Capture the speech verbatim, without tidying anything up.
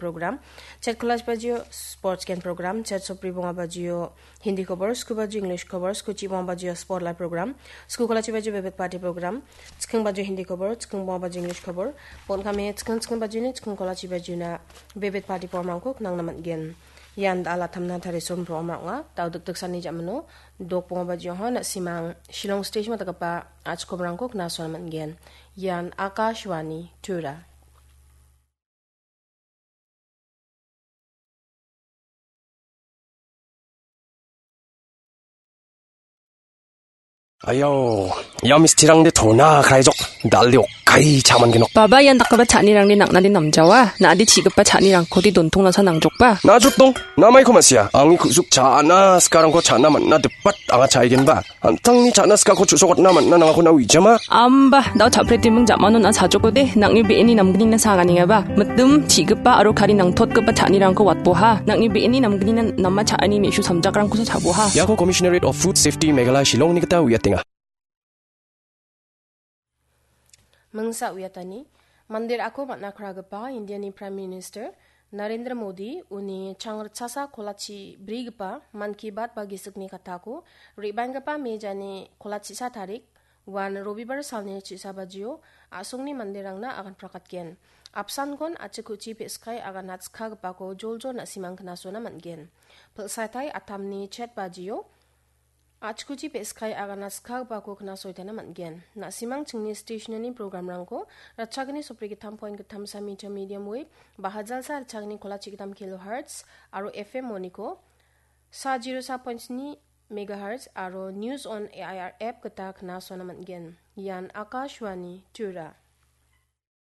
program, chet kolachi bajio sports gen program, chet sopri bonga bajio Hindi khobor, sku bajio English khobor, sku chi bonga bajio sport lai program, sku kolachi bajio bebet party program, chiking bajio Hindi khobor, chiking bonga bajio English khobor, bon kame chiking chiking bajio ni chiking kolachi bajio na bebet party program rangko knangna man gen. Ian da ala tamna tari som program rang ong·a, dau dik dik sani jamano, dok bonga bajio ho na simang Shillong station ma dakapa achkom rangko knasona man gen. Ian Akashvani Tura. Ayau, ia mistirangde tona kraijok, dal·de okai chaman genok. Baba ian dakgipa cha·anirangni nang·nade namjawa, na·ade chi·gipa cha·nirangkode dontong nasa nangjokba. Najrok dong, namaiko ma·sia, angni ku·suk cha·na sikarangko cha·na man·na dipat anga cha·aigenba. An·tangni cha·na sikako chu·sokatna man·na nangako na uijama. Amba, dao cha·pretiming jamano na·a sajokode, nang·ni be·eni namgnina saganengaba. Mitim, chi·gipa aro kari nangtotgipa cha·anirangko watboha. Nang·ni be·eni namgnina nama cha·ani me·su samjakrangkosa cha·boha. Iako Commissionerate of Food Safety Meghalaya Shillongni gita uiatenga. Mingsa uiatani, mandir ako man·a kragipa Indiani Prime Minister Narendra Modi uni changritchasa kolachi brigipa Mann Ki Baat ba gisikni katako re·baenggipa mejani kolachisa tarik, uan Robibar salni chisa bajio a·songni manderangna agan prakatgen. Apsankon achikuchi pe·skai agan atskagipako joljol na·simang knasona man·gen. Pilsaitai atamni chet bajio achikuchi pe·skai agana skagipako knasoitana man·gen. Na·simang chingni stationani programrangko ratchagni sopri gittam point gittamsa meter medium wave, bahajalsa ratchagni kolachi gittam kilohertz, aro F M moniko sa zero sa point sni megahertz, aro News on A I R app gita knasona man·gen. Ian Akashvani Tura.